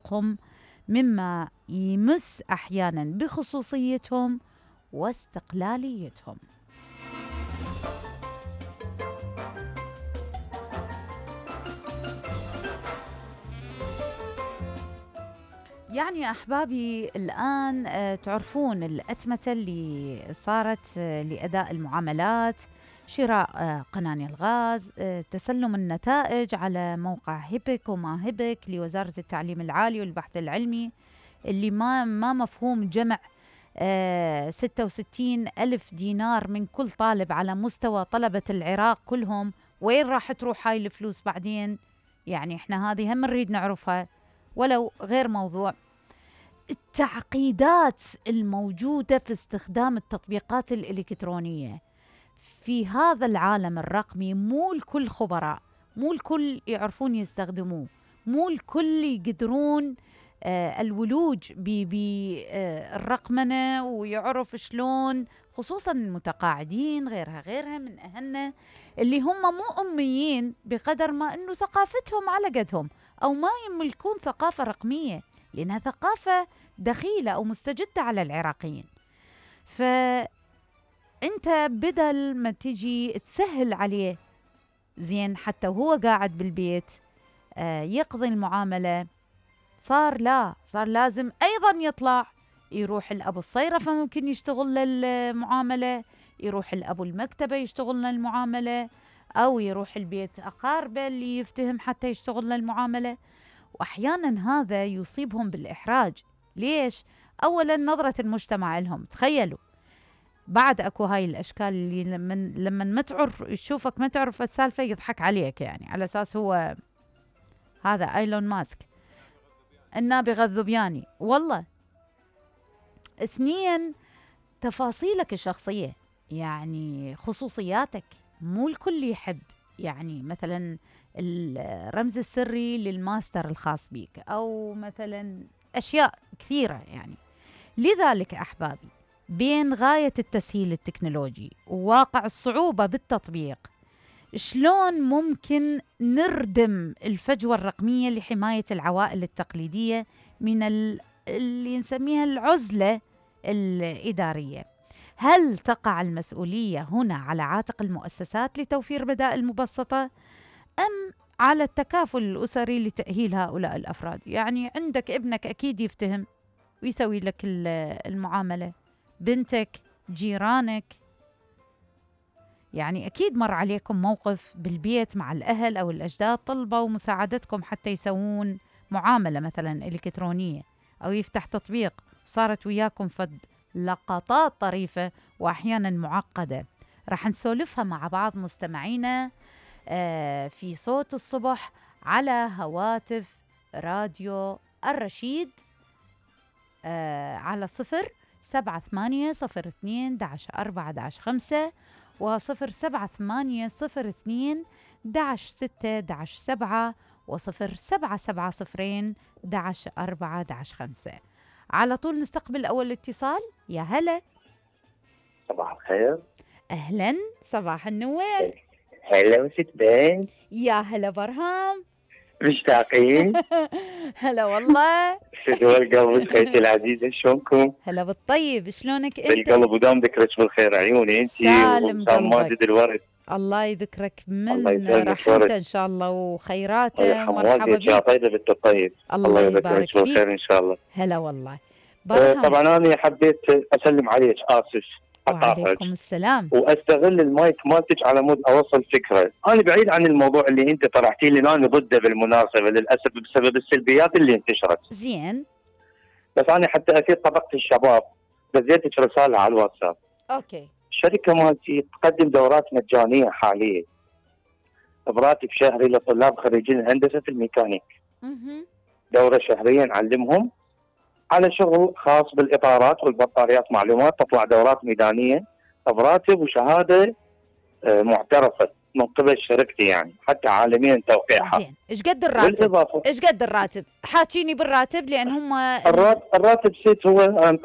حقوقهم، مما يمس أحيانا بخصوصيتهم واستقلاليتهم. يعني أحبابي الآن تعرفون الأتمتة اللي صارت لأداء المعاملات، شراء قناني الغاز، تسلم النتائج على موقع هيبك وما هيبك لوزارة التعليم العالي والبحث العلمي، اللي ما مفهوم جمع 66 ألف دينار من كل طالب على مستوى طلبة العراق كلهم. وين راح تروح هاي الفلوس بعدين؟ يعني احنا هذه هم نريد نعرفها ولو غير موضوع. التعقيدات الموجودة في استخدام التطبيقات الإلكترونية في هذا العالم الرقمي، مو الكل خبراء، مو الكل يعرفون يستخدموه، مو الكل يقدرون الولوج بالرقمنة ويعرف شلون، خصوصا المتقاعدين غيرها من أهلنا اللي هم مو أميين بقدر ما أنه ثقافتهم على قدهم أو ما يملكون ثقافة رقمية، لأنها ثقافة دخيلة أو مستجدة على العراقيين. فأنت بدل ما تجي تسهل عليه زين حتى وهو قاعد بالبيت يقضي المعاملة، صار لازم أيضا يطلع يروح الأبو الصيرفة ممكن يشتغل للمعاملة، يروح الأبو المكتبة يشتغل للمعاملة، أو يروح البيت أقاربه اللي يفتهم حتى يشتغل للمعاملة. وأحيانا هذا يصيبهم بالإحراج. ليش؟ أولا نظرة المجتمع لهم. تخيلوا بعد أكو هاي الأشكال اللي لما ما تعرف يشوفك ما تعرف السالفة يضحك عليك، يعني على أساس هو هذا ايلون ماسك النابغة الذبياني. والله اثنين، تفاصيلك الشخصية، يعني خصوصياتك مو الكل يحب، يعني مثلا الرمز السري للماستر الخاص بيك، أو مثلا أشياء كثيرة يعني. لذلك أحبابي بين غاية التسهيل التكنولوجي وواقع الصعوبة بالتطبيق، شلون ممكن نردم الفجوة الرقمية لحماية العوائل التقليدية من اللي نسميها العزلة الإدارية؟ هل تقع المسؤولية هنا على عاتق المؤسسات لتوفير بدائل مبسطة، أم على التكافل الأسري لتأهيل هؤلاء الأفراد؟ يعني عندك ابنك أكيد يفتهم ويسوي لك المعاملة، بنتك، جيرانك، يعني أكيد مر عليكم موقف بالبيت مع الأهل أو الأجداد طلبوا مساعدتكم حتى يسوون معاملة مثلا إلكترونية أو يفتح تطبيق، وصارت وياكم فد لقطات طريفة وأحيانا معقدة. راح نسولفها مع بعض مستمعينا في صوت الصبح على هواتف راديو الرشيد على 07802-4-5 و07802-6-7 و0770-4-5. على طول نستقبل أول اتصال. يا هلا. صباح الخير. أهلا، صباح النور. هلا وست بين. يا هلا برهام. مشتاقين. هلا والله. شدوا القلب خيتي العزيزة، شلونكم؟ هلا بالطيب، شلونك انت؟ بالقلب ودام ذكرك بالخير عيوني انتي وسام ماجد الورد. الله يذكرك من رحمته ان شاء الله وخيراته ومرحبا بك. يا طيبة بنت الطيب. الله يذكرك بالخير ان شاء الله. هلا والله. طبعا انا حبيت اسلم عليك، اسف. وعليكم السلام. واستغل المايك مالتك على مود اوصل فكره. انا بعيد عن الموضوع اللي انت طرحتيه لي، انا ضده بالمناسبه للاسف بسبب السلبيات اللي انتشرت. زين. بس انا حتى افيد طبقه الشباب دزيتك رساله على الواتساب. اوكي. الشركه مالتي تقدم دورات مجانيه حاليا براتب شهري لطلاب خريجين هندسه الميكانيك. دوره شهريه نعلمهم على شغل خاص بالاطارات والبطاريات، معلومات، تطلع دورات ميدانيه براتب وشهاده معترفه من قبل شركتي، يعني حتى عالميا توقيعها. زين. ايش قد الراتب؟ ايش قد الراتب؟ حاكيني بالراتب لان هم الراتب سيت هو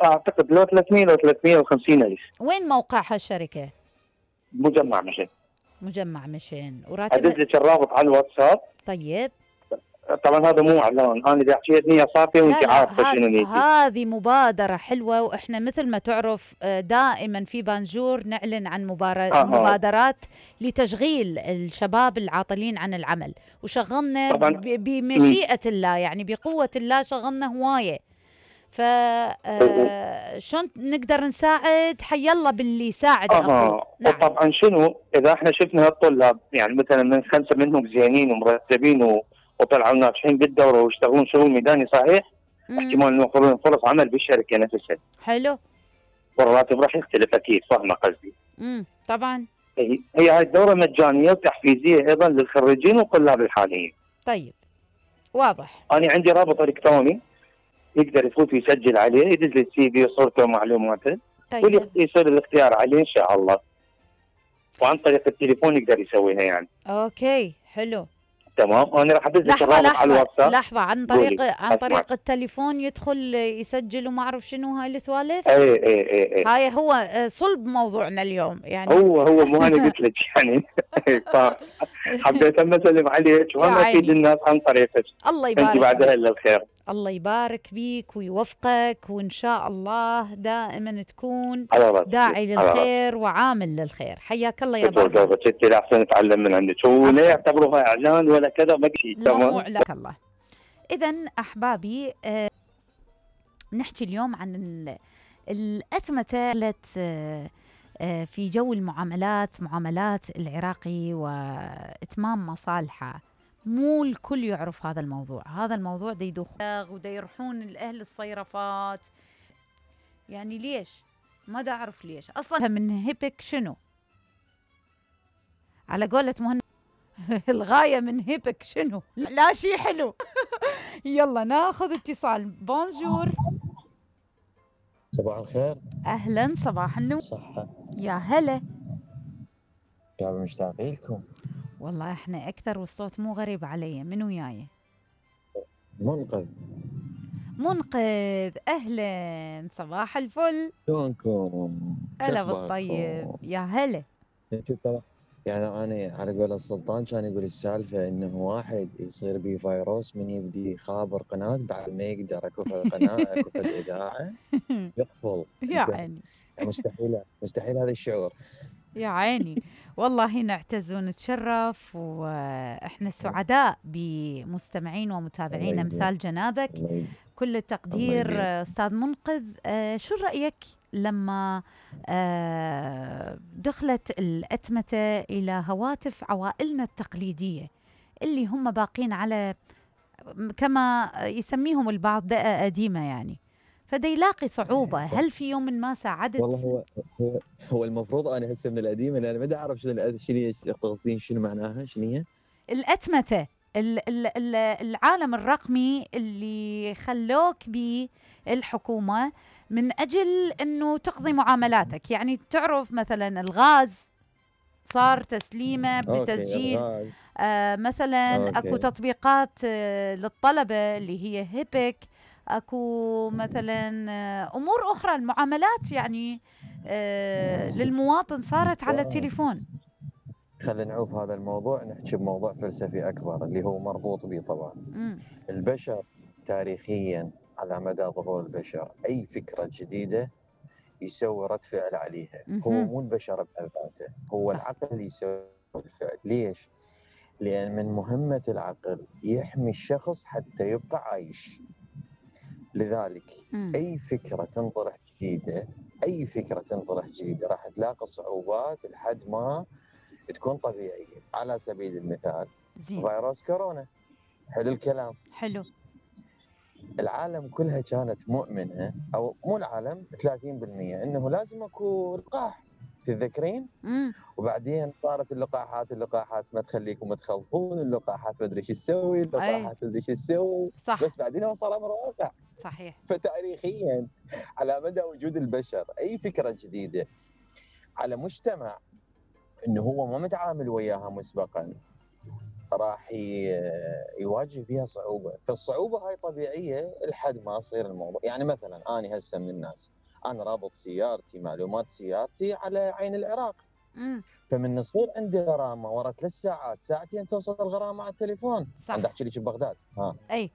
اعتقد لو 300 لو 350 الف. وين موقعها الشركه؟ مجمع مشن. مجمع مشن. وراتب ادز لك الرابط على الواتساب. طيب. طبعا هذا مو اعلان، انا بدي احكي نيه صافيه لا وانت لا، عارفه شنو نيتي. هذه مبادرة حلوة، واحنا مثل ما تعرف دائما في بانجور نعلن عن مبادرات لتشغيل الشباب العاطلين عن العمل، وشغلنا طبعا بمشيئة الله، يعني بقوة الله شغلنا هواية. ف شلون نقدر نساعد؟ حي الله باللي يساعد اخوي. نعم. وطبعا شنو اذا احنا شفنا هالطلاب يعني مثلا من 5 منهم زينين ومرتبين وطلعوا ناجحين بالدوره ويشتغلون شغل ميداني صحيح، احتمال انه يوفرون فرص عمل بالشركه نفسها. حلو. والراتب راح يختلف اكيد، فاهمه قصدي؟ طبعا. هي هاي الدوره مجانيه وتحفيزيه ايضا للخريجين والطلاب الحاليين. طيب واضح. انا عندي رابط الكتروني يقدر يفوت ويسجل عليه، يدز لي السي في وصورته ومعلوماته. طيب. ويصير الاختيار عليه ان شاء الله، وعن طريق التليفون يقدر يسويها يعني. اوكي حلو تمام. انا راح ادز لك الرابط على الواتساب. لحظه، عن طريق التليفون يدخل يسجل وما اعرف شنو هاي السوالف. اي هاي هو صلب موضوعنا اليوم يعني. هو مو انا قلت لك يعني. حبيت اسلم عليك وهم افيد الناس عن طريقك. الله يبارك انت بعدها الا الخير. الله يبارك بيك ويوفقك، وإن شاء الله دائما تكون داعي للخير وعامل للخير. حياك الله يا بابا. ستي لا أحسن نتعلم من عندك، ولا يعتبروها إعلان ولا كذا ما شيء. تمام. لك الله. إذا أحبابي نحكي اليوم عن الأتمتة في جو المعاملات، معاملات العراقي وإتمام مصالحه. مو الكل يعرف هذا الموضوع. هذا الموضوع دا يدخل ودا يروحون الأهل الصيرفات. يعني ليش؟ ما دا أعرف ليش أصلا. من هيبك شنو؟ على قولة مهند الغاية من هيبك شنو؟ لا شي حلو. يلا ناخذ اتصال. بونجور. صباح الخير. أهلا، صباح النور. صحة. يا هلا. قاعد مشتاقين لكم. والله احنا اكثر، والصوت مو غريب علي. من وياي؟ منقذ. اهلا، صباح الفل. شلونكم؟ هلا بالطيب. يا هلا. يعني انا على قول السلطان كان يقول السالفه انه واحد يصير بيه فيروس من يبدي يخابر قناه بعد ما يقدر اكف القناه اكف الاذاعه يقفل. يا عيني. مستحيل هذا الشعور. يا عيني. والله نعتز ونتشرف، واحنا سعداء بمستمعين ومتابعين امثال جنابك. كل التقدير استاذ منقذ. شو رايك لما دخلت الأتمتة إلى هواتف عوائلنا التقليدية اللي هم باقين على كما يسميهم البعض دقة قديمة يعني، فدا يلاقي صعوبة؟ هل في يوم ما ساعدت؟ والله هو المفروض أنا هسه من القديمة، أنا ما أعرف شنو تقصدين، شنو معناها، شنو هي الأتمتة؟ العالم الرقمي اللي خلوك به الحكومة من أجل أنه تقضي معاملاتك. يعني تعرف مثلا الغاز صار تسليمه بتسجيل. مثلا أكو تطبيقات للطلبة اللي هي هيبك. أكو مثلا أمور أخرى، المعاملات يعني للمواطن صارت على التليفون. خلينا نعوف هذا الموضوع، نحكي بموضوع فلسفي أكبر اللي هو مربوط به طبعا. البشر تاريخيا على مدى ظهور البشر أي فكرة جديدة يسوي رد فعل عليها. هو مو البشر بحد ذاته، هو صح. العقل يسوي الفعل. ليش؟ لأن من مهمة العقل يحمي الشخص حتى يبقى عايش. لذلك أي فكرة تنطرح جديدة راح تلاقي صعوبات لحد ما تكون طبيعية. على سبيل المثال فيروس كورونا، حلو الكلام، حلو. العالم كلها كانت مؤمنة، أو مو العالم 30%، إنه لازم أكو لقاح، تتذكرين؟ وبعدين صارت اللقاحات ما تخليكم تخلفون، اللقاحات ما أدري شو تسوي، اللقاحات ما أدري شو تسوي، بس بعدين هو صار أمر واقع. صحيح. فتاريخيا على مدى وجود البشر أي فكرة جديدة على مجتمع إنه هو ما متعامل وياها مسبقا راح يواجه بها صعوبة. فالصعوبة هاي طبيعية لحد ما يصير الموضوع. يعني مثلا أنا هسه من الناس، أنا رابط سيارتي، معلومات سيارتي على عين العراق، فمن يصير عندي غرامه ورا 3 ساعات ساعتين توصل الغرامه على التليفون. صح. انا احكي لك ببغداد. اي